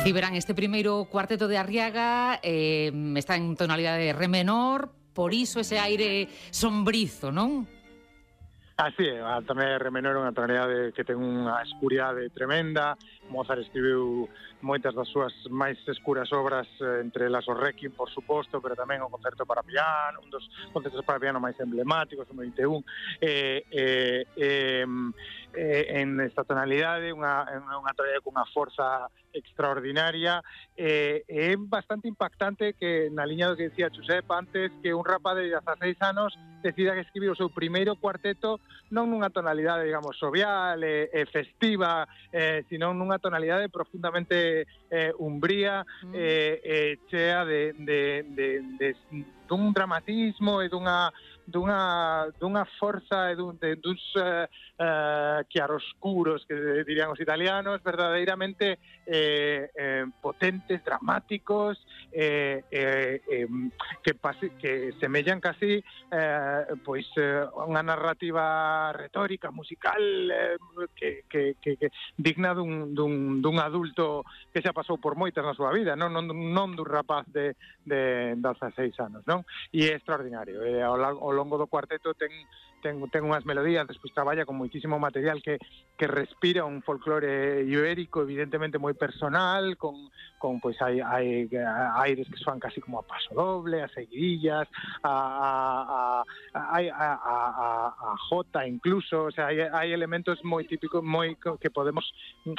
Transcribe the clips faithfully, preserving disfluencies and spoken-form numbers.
Ciberán, este primeiro cuarteto de Arriaga eh, está en tonalidade de re menor, por iso ese aire sombrizo, non? Así é, tamén re menor é unha tonalidade que ten unha escuridade tremenda. Mozart escribiu moitas das súas máis escuras obras, entre elas o Requiem, por suposto, pero tamén o concerto para piano, un dos concertos para piano máis emblemáticos, o vinte e un, eh, eh, eh, eh, en esta tonalidade, unha, unha tonalidade cunha forza extraordinaria. Eh, é bastante impactante que, na liña do que decía Josep antes, que un rapaz de dezaseis anos decida que escribir o seu primeiro cuarteto non nunha tonalidade, digamos, jovial e, e festiva, eh, sino nunha tonalidade profundamente eh, umbría, mm. eh, eh, chea de, de, de, de, dun dramatismo e dunha dunha dunha forza e dun, de, duns uh, uh, chiaroscuros, que dirían os italianos, verdadeiramente eh, eh, potentes, dramáticos, eh, eh, eh, que, pase, que semellan casi eh, pois eh, unha narrativa retórica, musical, eh, que, que, que, que digna dun, dun, dun adulto que xa pasou por moitas na súa vida, non, non, non dun rapaz de, de dezaseis anos, non? E é extraordinario. Eh, ao, ao longo do cuarteto ten ten, ten unhas melodías, despois traballa con moitísimo material que, que respira un folclore ibérico, evidentemente moi personal, con, con pois hai, hai aires que soan casi como a paso doble, a seguidillas, a, a, a, a, a, a, a jota incluso, o sea, hai, hai elementos moi típicos, moi que podemos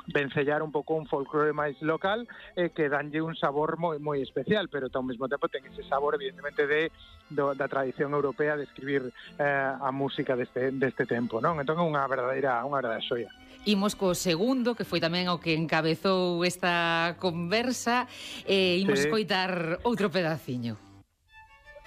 vencellar un pouco un folclore máis local, eh, que danlle un sabor moi moi especial, pero ao mesmo tempo ten ese sabor evidentemente de do, da tradición europea de escribir eh, a música deste, deste tempo, non? Entón é unha verdadeira, unha verdadeira xoia. Imos co segundo, que foi tamén o que encabezou esta conversa, e imos sí. escoitar outro pedaciño.